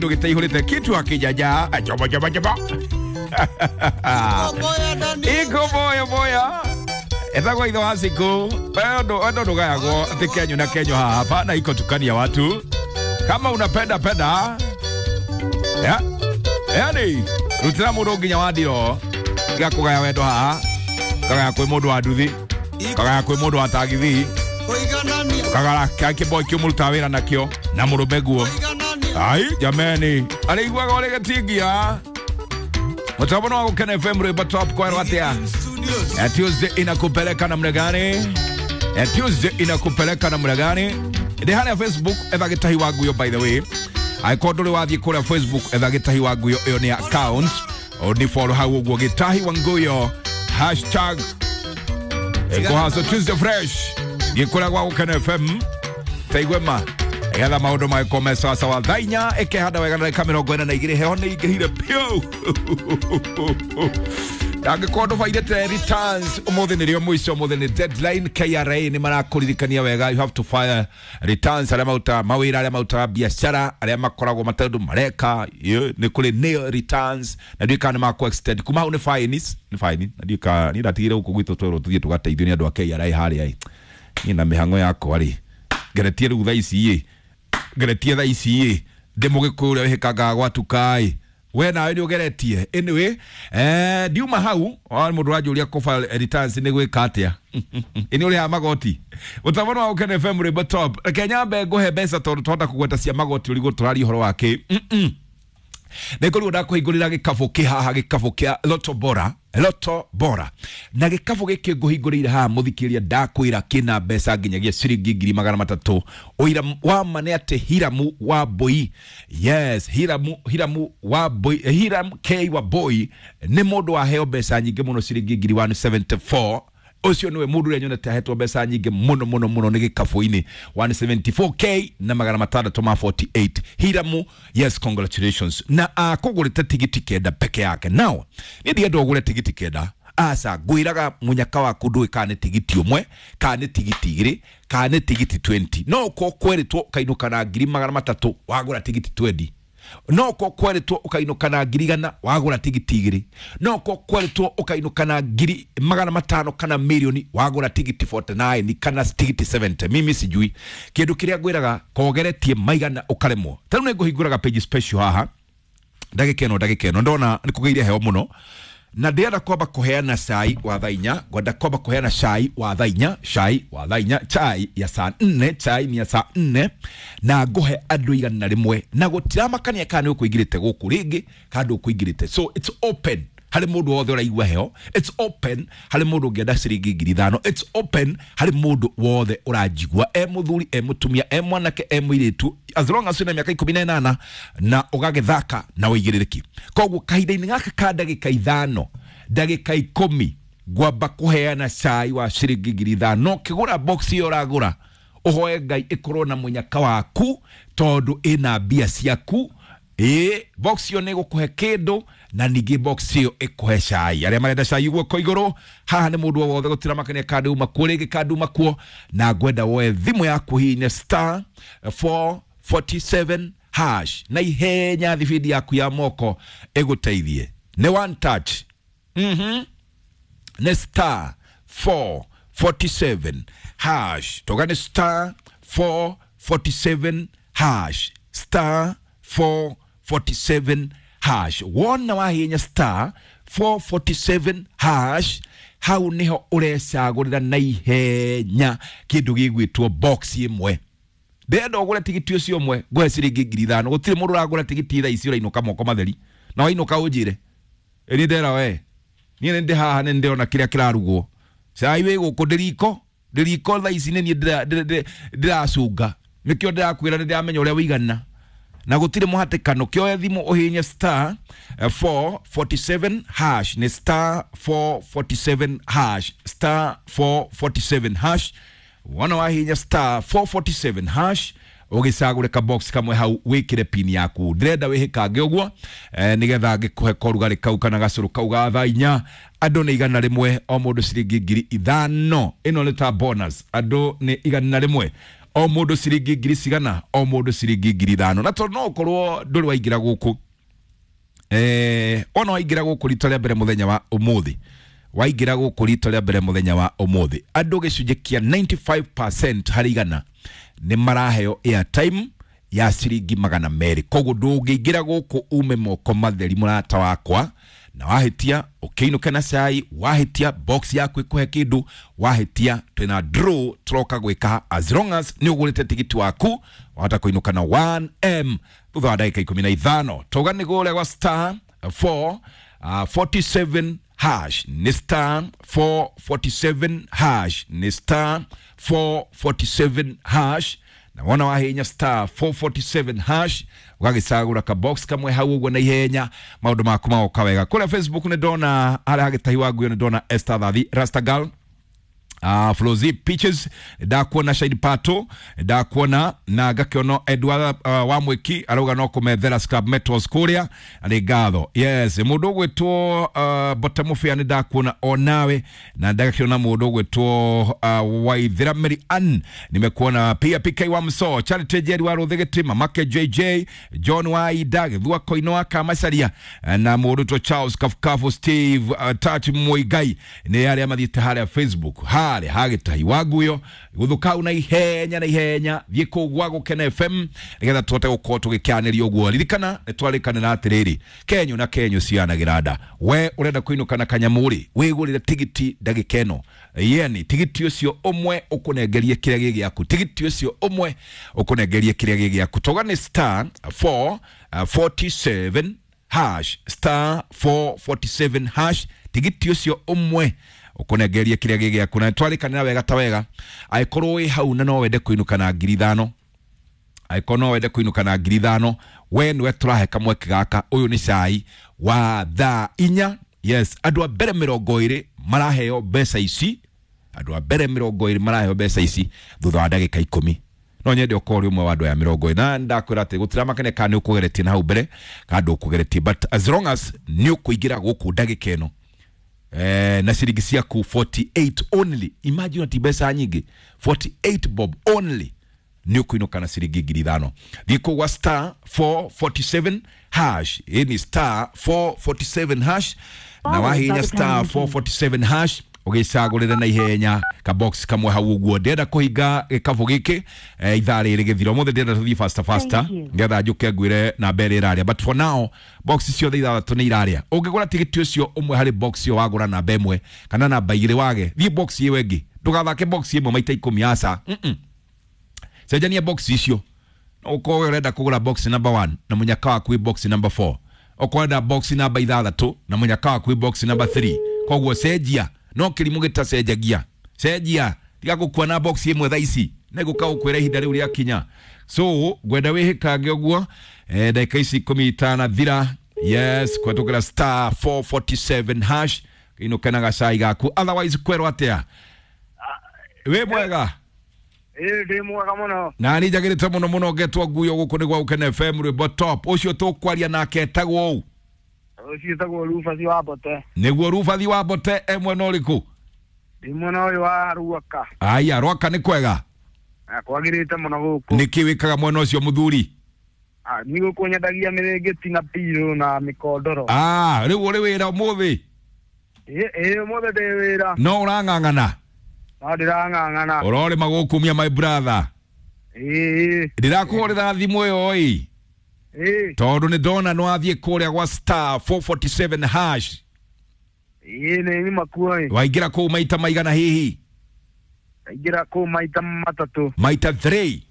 Gĩtaihũrĩte kitu akĩjaja jobo jobo jobo iko boyo boya etagwo ithe wa siku wendo ndũgayagwo atĩ kenyu na kenyu haha hapana iko tukania watu kama unapenda penda ya yani rutĩra mũndũ nginya wa ndiro gĩa kũgaya wendo haha kagaya kwĩ mũndũ wa nduthi kagaya kwĩ mũndũ wa tagithi kagara kĩboy kĩu mũrutaga wĩra nakĩo na mũrũme guo. Ai jameni, arĩiguaga ũrĩ gĩtingia mũtambo no wa Gũkena FM rwĩmbo top kwerwo atĩa? Ya Tuesday inakupeleka namna gani? Ya Tuesday inakupeleka namna gani? Ndĩ harĩa Facebook etha Gĩtahi wa Nguyo, by the way angĩkorwo ndũrĩ wathiĩ kũrĩa Facebook etha Gĩtahi wa Nguyo, ĩyo nĩ account ni follow hau ũguo Gĩtahi wa Nguyo hashtag ĩkũhaco Tuesday fresh gĩkũrĩa gwa Gũkena FM taigwema getha maũndũ magĩkorwo me sawasawa. Thaa 4 ĩkehanda wega na ndagĩka 42, heho nĩ ingĩhire piũ. Angĩkorwo ndũbairĩte returns ũmũthĩ nĩrĩo mũico, ũmũthĩ nĩ deadline. KRA nĩ marakũririkania wega, you have to file returns. Arĩa marutaga mawĩra, arĩa marutaga biacara, arĩa makoragwo matarĩ ũndũ mareka, nĩ kũrĩ nil returns na ndiũĩ kana nĩ makũ extend kuma hau nĩ fines, nĩ fine na ndiũĩ kana niĩ ndatigire gũkũ gwitũ twerwo tũthiĩ tũgateithio nĩ andũ a KRA harĩa ĩ. Niĩ na mĩhang'o yakwa rĩ, ngeretie rĩu thaa ici ĩ, ngeretie thaa ici ĩ, ndĩ mũgĩkũyũ ũrĩa wĩhĩkangaga gwatuka ĩ, we nawe nĩ ũgeretie. Anyway, ndiuma hau mũndũ ũranjũria kũ file returns nĩ gwĩka atĩa, ĩ nĩ ũrĩhaga magoti. Mũtambo wa Gũkena FM rwĩmbo top, reke nyambe ngũhe mbeca tondũ twahota kũgweta cia magoti ũrigwo tũraria ũhoro wa kĩ. Nĩngũrigwo ndakũhingũrĩra gĩkabũ kĩ haha, gĩkabũ kĩa Lotto Bora, Lotto Bora, na gĩkabũ gĩkĩ ngũhingũrĩire haha mũthikĩrĩria ndakwĩra kĩna mbeca nginyagia ciringi 300,000. Ũira wa ma nĩ atĩ Hiramu wa Mbui, yes, Hiramu, Hiramu wa Mbui, Hiram K wa Mbui nĩ mũndũ waheo mbeca nyingĩ mũno ciringi 174,000. Ũcio nĩwe mũndũ ũrĩa nyonete ahetwo mbeca nyingĩ mũno mũno mũno nĩ gĩkabũ-inĩ, 174k na 648. Hiramu, yes, congratulations. Na akũgũrĩte tigiti 9 peke yake. Now niĩ ndienda ũgũre tigiti 9, aca, ngwĩraga mũnyaka waku ndũĩ kana nĩ tigiti 1 kana nĩ tigiti 2 kana nĩ tigiti 20. No ũkorwo kwerĩtwo ũkainũka na 300,000 wagũra tigiti 20, no ũkorwo kwerĩtwo ũkainũka na 100,000 wagũra tigiti 2, no ũkorwo kwerĩtwo ũkainũka na 500,000 kana mirioni wagũra tigiti 49 kana tigiti 70. Mimi sijui kĩndũ kĩrĩa ngwĩraga kogeretie maigana ũkaremwo. Ta rĩu nĩngũhingũraga page special haha ndagĩka ĩno, ndagĩka ĩno ndona nĩ kũgĩire heho mũno na ndĩrenda kwamba kũheana cai wa thaa 4, ngwenda kwamba kũheana cai wa thaa 4, cai wa thaa 4, chai ya saa 4, chai ni ya saa 4, na ngũhe andũ 100 na gũtiramakania kana nĩ ũkũingĩrĩte gũkũ rĩngĩ kana ndũkũingĩrĩte. So it's open harĩ mũndũ wothe ũraigua heho, it's open harĩ mũndũ ũngĩenda ciringi 5,000, it's open harĩ mũndũ wothe ũranjigua, e mũthuri, e mũtumia, e mwanake, e mũirĩtu, as long as wĩna mĩaka 18 na ũgagĩthaka na ũigĩrĩrĩki. Koguo kahinda-inĩ gaka ka ndagĩka 5, ndagĩka 10 ngwamba kũheana cai wa ciringi 5,000. Ũkĩgũra box ĩyo ũragũra, ũhoe Ngai ĩkorwo na mũnyaka waku tondũ ĩna mbia ciaku. Ĩ box ĩyo nĩ ĩgũkũhe kĩndũ na ningĩ box ĩyo ĩkũhe cai. Arĩa marenda cai guoko igũrũ haha nĩ mũndũ o wothe, gũtiramakania kana uma kuo rĩngĩ kana uma kuo, na ngwenda woe thimũ yaku hihinya star 447 hash na ihenya thibindi yaku ya moko ĩgũteithie. Nĩ one touch. Nĩ star 447 hash, toga nĩ star 447 hash, star 447 hash. Wona wahinya star 447 hash, hau niho ũrecagũrĩra na ihenya kĩndũ gĩgwĩtwo box ĩmwe. Ndĩrenda ũgũre tigiti ũcio ũmwe ngũhe ciringi 5,000. Gũtirĩ mũndũ ũragũra tigiti thaa ici ũrainũka moko matheri, na wainũka ũnjĩre ĩ ndera we niĩ nĩ ndĩ haha nĩ ndĩrona kĩrĩa kĩrarugwo, cai wĩ gũkũ ndĩriko ndĩriko thaa ici nĩ niĩ ndĩracunga, nĩkĩo ndĩrakwĩra nĩ ndĩramenya ũrĩa wĩigana na gũtirĩ mũhatĩkano. Kĩoe thimũ ũhihinye star 447 hash, nĩ star 447 hash, star 447 hash. Wona wahihinya star 447 hash ũgĩcagũre ka box kamwe hau wĩkĩre pin yaku. Ndĩrenda wĩhĩkange ũguo nĩgetha ngĩkũhe korugarĩ kau kana gacũrũ kau ga thaa 4. Andũ nĩ 100, o mũndũ ciringi 5,000. Ĩno nĩ ta bonus, andũ nĩ 100. O mũndũ ciringi ngiri cigana? O mũndũ ciringi 5,000. Na tondũ no ũkorwo ndũrĩ waingĩra gũkũ, ona waingĩra gũkũ rita rĩa mbere mũthenya wa ũmũthĩ, waingĩra gũkũ rita rĩa mbere mũthenya wa ũmũthĩ, andũ gĩcunjĩ kĩa 95% harĩ igana nĩ maraheo airtime ya ciringi 200. Koguo ndũngĩingĩra gũkũ ume moko matheri, mũrata wakwa, na wahĩtia ũkĩinũke na cai, wahĩtia box yaku ĩkũhe kĩndũ, wahĩtia twĩna draw tũroka gwĩka. As long as nĩ ũgũrĩte tigiti waku, wahota kũinũka na 1M thutha wa ndagĩka 15. Tauga nĩ gũrĩa gwa star 4 47 hash, nĩ star 447 hash, nĩ star 447 hash. Na wona wahenya star 447 hash, ũgagĩcagũra ka box kamwe hau ũguo na ihenya, maũndũ maku magoka wega. Kũrĩa Facebook nĩ ndona harĩa hagĩtahi wa nguo, nĩ ndona Esther Thathi Rastagal, Flozi Peaches, ndakuona Shine Pato, ndakuona na ngakĩona Edward wa Mwiki arauga no kũmethera Scrap Metals kũrĩa arĩ ngatho. Yes, mũndũ ũgwĩtwo Bota Mũbĩa nĩ ndakuona onawe, na ndagakĩona mũndũ ũgwĩtwo Waithera Mary Ann nimekuona pia, PK wa Mso, Charity Jerry wa Rũthĩgĩtĩ, Mamake JJ, John wa Ida Gĩthua Koino wa Kamacaria, na mũndũ ũgwĩtwo Charles Kafukafu, Steve Touch Muigai, nĩ arĩa mathiĩte harĩa Facebook harĩa hagĩtahi wa nguyo gũthũkau na ihenya na ihenya. Thiĩ kũu gwa Gũkena FM nĩgetha tũhote gũkorwo tũgĩkĩanĩria ũguo. Ririkana nĩ twarĩkanĩra atĩrĩrĩ, kenyu na kenyu cianagĩra nda. We ũrenda kũinũka na kanyamũ rĩ, wĩgũrĩre tigiti ndagĩka ĩno yeni, tigiti ũcio ũmwe ũkũnengerie kĩrĩa gĩ gĩaku, tigiti ũcio ũmwe ũkũnengerie kĩrĩa gĩ gĩaku. Toga nĩ star 4 47 hash, star 447 hash, tigiti ũcio ũmwe ũkũnengerie kĩrĩa gĩ gĩaku. Na twarĩkanĩra wega ta wega, angĩkorwo wĩ hau na no wende kũinũka na 5,000, angĩkorwo no wende kũinũka na 5,000, we nĩwe tũrahe kamweke gaka. Ũyũ nĩ cai wa thaa 4. Yes, andũ a mbere 20 maraheo mbeca ici, andũ a mbere 20 maraheo mbeca ici thutha wa ndagĩka 10. No nyende ũkorwo ũrĩ ũmwe wa andũ aya 20. Na ndakwĩra atĩ gũtiramakania kana nĩ ũkũgeretie na hau mbere kana ndũkũgeretie, but as long as nĩ ũkũingĩra gũkũ ndagĩka ĩno na ciringi ciaku 48 only, imagine ati mbeca nyingĩ, 48 bob only, nĩ ũkũinũka na ciringi 5,000. Thiĩ kũu gwa star 447 hash, ĩ ni star 447 hash, na wahinya star 447 hash ũgĩcagũrĩre na ihenya ka box kamwe hau ũguo. Ndĩrenda kũhinga gĩkabũ gĩkĩ ithaa rĩrĩ gĩthira ũmũthĩ, ndĩrenda tũthiĩ faster faster nĩgetha njũke ngwĩre namba ĩrĩa ĩrarĩa, but for now box ciothe ithathatũ nĩ irarĩa. Ũngĩgũra tigiti ũcio ũmwe harĩ box ĩyo, wagũra namba ĩmwe kana namba igĩrĩ wage, thiĩ box ĩyo ĩngĩ, ndũgathake box ĩmwe maita 10, aca. Cenjania box icio. Ũkorwo ũrenda kũgũra box number 1 na mũnyaka waku wĩ box number 4, ũkorwo ũrenda box namba 6 na mũnyaka waku wĩ box number 3. Koguo cenjia, no kĩrimũ gĩtacenjagia, cenjia, tiga gũkua na box ĩmwe thaa ici nĩgũka gũkwĩra ihinda rĩu rĩakinya. So ngwenda wĩhĩkange ũguo ndagĩka ici 10 itanathira. Yes, kũhetũkĩra star 447 hash inũke na gacai gaku, otherwise kwerwo atĩa? Wĩ mwega? Ĩĩ, ndĩ mwega mũno. Na nĩ njagĩrĩte mũno mũno, ngetwo nguyo gũkũ nĩ gwa Gũkena FM, rwĩmbo top. Ũcio tũkwaria nake etagwo ũũ? Ũcio etagwo Rubathi wa Mbote. Nĩguo Rubathi wa Mbote, e mwena ũrĩkũ? Ndĩ mwena ũyũ wa Ruaka. Aya, Ruaka nĩ kwega? Kwagĩrĩte mũno gũkũ. Nĩkĩ wĩkaga mwena ũcio mũthuri? Niĩ gũkũ nyendagia mĩrĩngĩti na pirũ na mĩkondoro. Rĩu ũrĩ wĩra ũmũthĩ? Ĩĩ, ũmũthĩ ndĩ wĩra. No ũrang'ang'ana? No ndĩrang'ang'ana. Ũrorĩma gũkumia my brother. Ĩĩ. Ndĩrakũhũrĩra thimũ ĩyo ĩ, tondũ nĩ ndona nĩ wathiĩ kũrĩa gwa star 447 hash. Ĩĩ, nĩ nyuma kuo ĩ. Waingĩra kũu maita maigana hihi? Ndaingĩra kũu maita matatũ. Maita 3?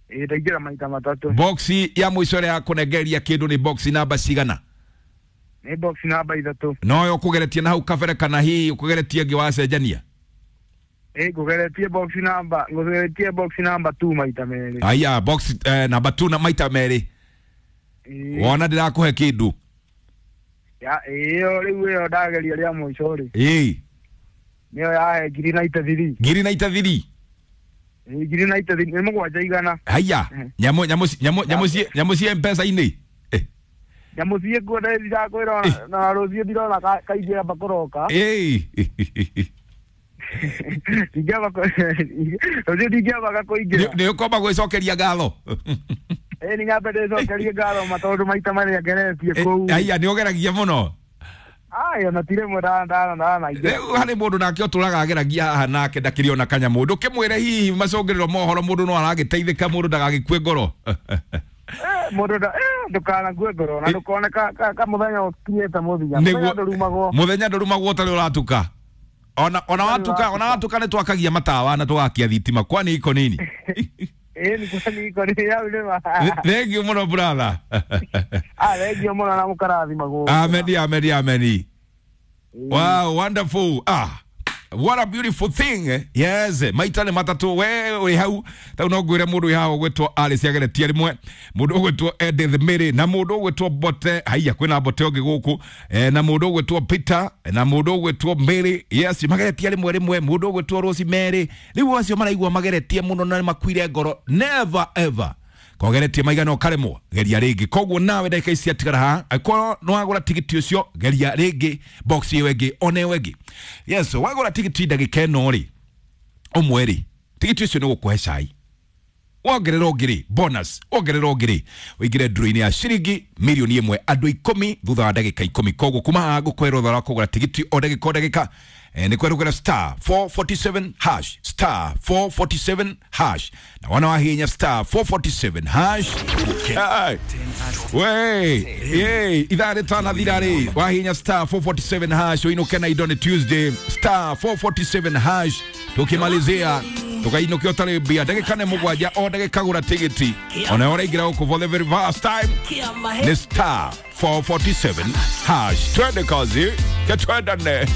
Ĩĩ, ndaingĩra maita matatũ. Box ya mũico ĩrĩa yakũnengeria kĩndũ nĩ box namba cigana? Nĩ box namba 3. Noyo ũkũgeretie na hau kabere kana hihi ũkũgeretie ĩngĩ wacenjania? Ĩĩ, ngũgeretie box number, ngũgeretie box number 2 maita merĩ. Aya, box namba 2 na maita merĩ. Wona ndĩrakũhe kĩndũ? Ya, ĩyo rĩu ĩyo ndageria rĩa mũico rĩ. Ĩĩ. Nĩyo yahe 1093. 1093? Ĩĩ, 1093 nĩ 700. Haya, nyamũ nyamũ nyamũ nyamũ nyamũ cie M-Pesa-inĩ. Nyamũ ciĩ kuo ndĩrakwĩra na rũciũ ndirona kaingĩ amba kũroka. Ĩĩ. Ndingĩamba rũciũ ndingĩambaga kũingĩra. Nĩ ũkwamba gwĩcokeria ngatho. Ĩĩ, nĩ nyambe ndĩcokerie ngatho ma tondũ maita marĩa ngeretie kũu. Aya, nĩ ũgeragia mũno. Ai, ona ti rĩmwe ndanaingĩra. Rĩu harĩ mũndũ nake ũtũraga ageragia haha nake ndakĩrĩ ona kanyamũ. Ndũkĩmwĩre hihi macũngĩrĩro mohoro mũndũ no aragĩteithĩka, mũndũ ndagagĩkue ngoro. Mũndũ ndũkanakue ngoro na ndũkone ka mũthenya ũkinyĩte mũthia. Mũthenya ndũrumagwo. Mũthenya ndũrumagwo ũtarĩ ũratuka. Ona watuka, ona watuka nĩ twakagia matawa na tũgakia thitima, kwani iko nini? Ĩĩ, nĩ kwani iko nini hau nĩ ma. Thank you mũno, brother. Ah, thank you mũno na mũkarathimagwo. Ameni, ameni, ameni. Wow, wonderful. Ah, what a beautiful thing. Yes, maita nĩ matatũ we ũrĩ hau. Tau no ngwĩre mũndũ wĩ haha ũgwĩtwo Alice ageretie rĩmwe, mũndũ ũgwĩtwo Edith Mary, na mũndũ ũgwĩtwo Bote. Haiya, kwĩna Bote ũngĩ gũkũ, na mũndũ ũgwĩtwo Peter, na mũndũ ũgwĩtwo Mary. Yes, mageretie rĩmwe rĩmwe, mũndũ ũgwĩtwo Rose Mary. Rĩu acio maraigua mageretie mũno na nĩmakuire ngoro. Never ever. Kogeretie maigana ũkaremwo, geria rĩngĩ. Koguo nawe ndagĩka ici ciatigara haha, angĩkorwo nĩ wagũra tigiti ũcio, geria rĩngĩ box ĩyo ĩngĩ, ona ĩyo ĩngĩ. Yes, wagũra tigiti ndagĩka ĩno rĩ, ũmwe rĩ, tigiti ũcio nĩ gũkũhe cai. Wongerera ũngĩ rĩ, bonus. Wongerera ũngĩ rĩ, ũingĩre nduro-inĩ ya ciringi 1 mirioni andũ 10 thutha wa ndagĩka 10. Koguo kuma haha ngũkũhe rũtha rwa kũgũra tigiti o ndagĩka o ndagĩka. Nĩ kwerũgĩra *447#, *447#, na wona wahihinya *447#. Ai. We, ye, ithaa rĩtanathira rĩ, wahihinya *447# ũinũke na indo. Nĩ Tuesday, *447# tukimalizia tukainũkia ũtarĩ mbia. Ndagĩka nĩ 7, o ndagĩka gũra tigiti. Ona ũraingĩra gũkũ for the very first time, nĩ *447#. Twende kazi, ketwendane.